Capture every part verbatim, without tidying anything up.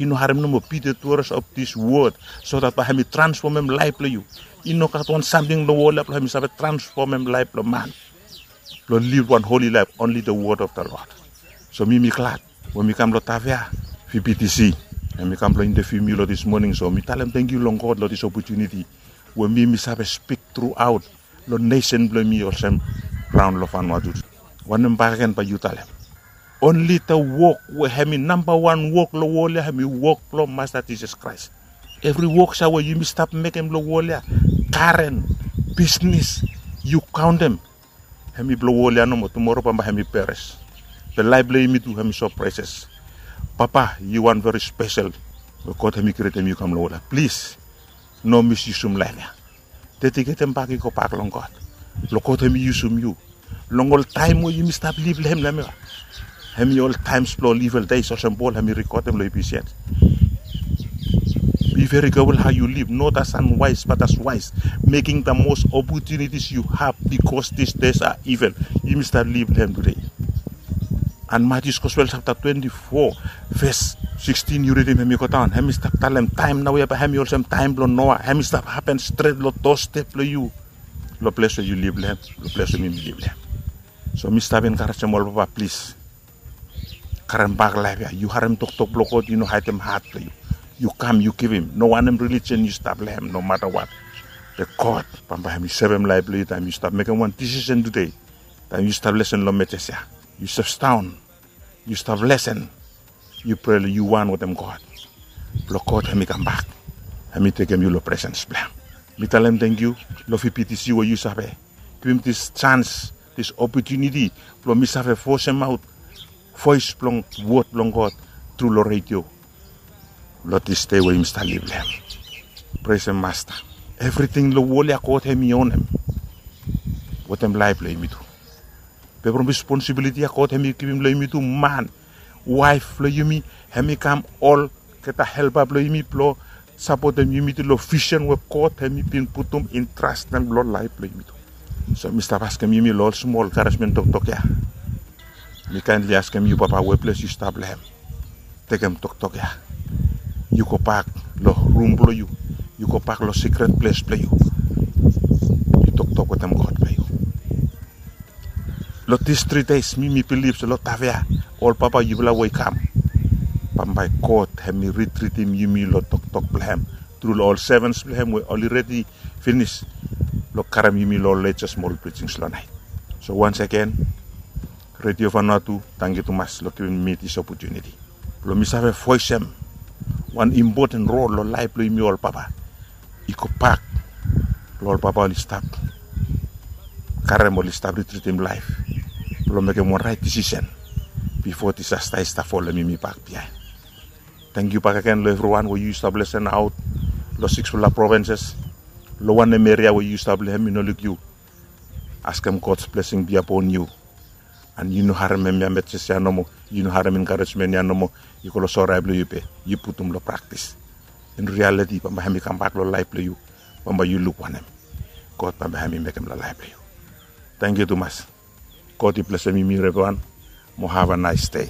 I no harim nomo be the doers of this word, so that bae hemi transfomem laef blong yu. I no gat wan samting long wol ya blong hemi save transfomem laef blong man blong liv wan holi laef, only the word of the Lord. So mi mi glad we mi kam long Tafea, V B T C, and mi kam blong interview mi long this morning. So mi talem tangkiu long God long this opportunity we mi mi save spik truaot long nesen blong mi olsem raon long Vanuatu. Wanem bakegen bae yu talem? Only the wok we hemi namba wan wok long wol ya hemi wok blong Masta Jisas Kraes. Evri wok sa we yumi stap mekem long wol ya, garen, bisnis, yu kaontem, hemi blong wol ya nomo. Tumoro bambae hemi peres. Be laef blong yumi tu hemi so preses. Papa, yu wan veri spesel we God hemi krietem yu kam long wol ya. Plis, no misyusum laef ya. Dediketem bak i gobak long God blong God hemi yusum yu long ol taem we yumi stap liv long hem long hem ya. Hemi ol taems blong ol evil days olsem Pol hemi rekodem long Ephesians. Be very careful how you live, not as unwise but as wise, making the most opportunities you have, because these days are evil. Yumi stap liv long hem tudei. And Matius Gospel chapter twenty-four, verse sixteen, yu ridim hemi go daon. Hemi stap talem taem naoia bae hemi olsem taem blong Noa. Hemi stap hapen stret long dostep blong yu, long ples we yu liv long hem, long ples we mi mi liv long hem. So mi stap enkarejem ol papa, plis, karem bak laef ya. Yu harem toktok blong God, yu no haedem hat blong yu. Yu kam, yu givim. No wanem religion yu stap long hem, no matter what. Be God bambae hemi sevem laef blong yu taem yu stap mekem wan disisen tudei. Taem yu stap lesen long mejes ya, yu stap daon, yu stap lesen, yu prea, yu wan wetem God blong God hemi kambak, hemi tekem yu long presens blong hem. Mi talem tangkiu long V B T C we yu save givim this chance, this opportunity blong mi save vosemaot voes blong wod blong God tru long redio long this dei we yumi stap liv long hem. Presem Masta. Evriting long wol ya God hemi onem wetem laef blong yumi tu. Be from responsibility ya God hemi givim long yumi tu, man, waef blong yumi, hemi kam olgeta helpa blong yumi blong sapotem yumi tu long visen we God hemi bin putum intrastem long laef blong yumi tu. So mi stap askem yumi long ol smol enkaresmen toktok ya. Mi kaendli askem yu Papa we ples yu stap long hem, tekem toktok ya. Yu gobak long rum blong yu. Yu gobak long sikret ples blong yu. Yu toktok wetem God blong yu. Long this three days mi mi bilif se long Tafea, ol papa yufala we i kam, bambae God hemi ritritim yumi long toktok blong hem tru long ol sevens blong hem we oli redi finis blong karem yumi long ol latest smol preachings long naet. So once again, Redio Vanuatu, tangkiu tumas long givim mi this opportunity blong mi save voesem wan impoten rol long laef blong yumi ol papa. I gobak long ol papa oli stap karem, oli stap ritritim laef blong mekem wan raet disisen bifo disasta i stap folem yumi bak biaen. Tangkiu bakegen long evriwan we yu stap lesenaot long siksfala provinses, long wanem eria we yu stap long hem, mi no luk yu. Askem God's blessing be upon you. And yu no harem hemia meses ya nomo, yu no harem enkaresmen ya nomo, yu go long sore ae blong yu be yu putum long praktis. In reality, bambae hemi kambak long laef blong yu, bambae yu luk wanem God bambae hemi mekem long laef blong yu. Tangkiu tumas. God i blesem yumi evriwan. Mo have a nice day.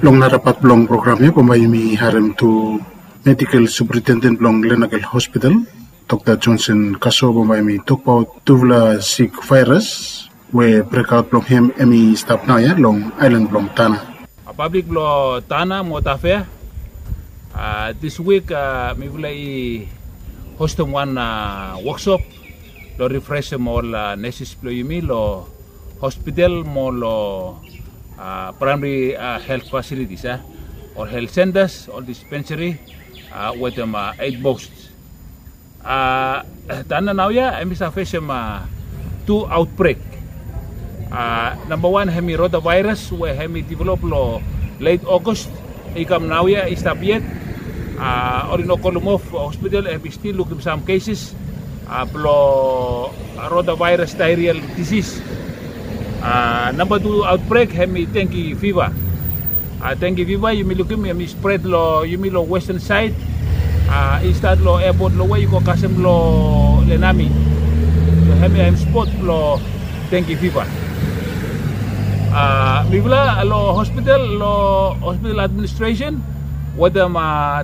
Long nara pat blong program ya, bambae yumi harem tu medical superintendent blong Lenakel Hospital, Dokta Johnson Kaso, bambae hemi tokbaot tufala sik vaeras we brekaot blong hem hemi stap naoia long aelan blong Tanna. A pablik blong Tanna mo Tafea, a, this week, a, mifala i hostem wan, a, woksop blong rifresem ol, a, neses blong yumi long hospital mo long, a, praemari, a, helt fasilitis, a, ol helt sentas, ol dispensari, a, wetem, a, eit post. A, Tanna naoia hemi save fesem, a, tu aotbrek. A, nambawan hemi rotavaeras we hemi develop long let August, i kam naoia, i stap yet. A, oli no kolim of, hospital hemi stil lukim sam keses, a, blong rotavaeras daerial disis. A, namba tu aotbrek hemi dengi fiva. A, dengi fiva yumi lukim hemi spret long yumi long westan saed. A, i stat long epot long we i go kasem long Lenami. So hemia hem spot blong dengi fiva. A, mifala long hospital, long hospital administresen, wetem a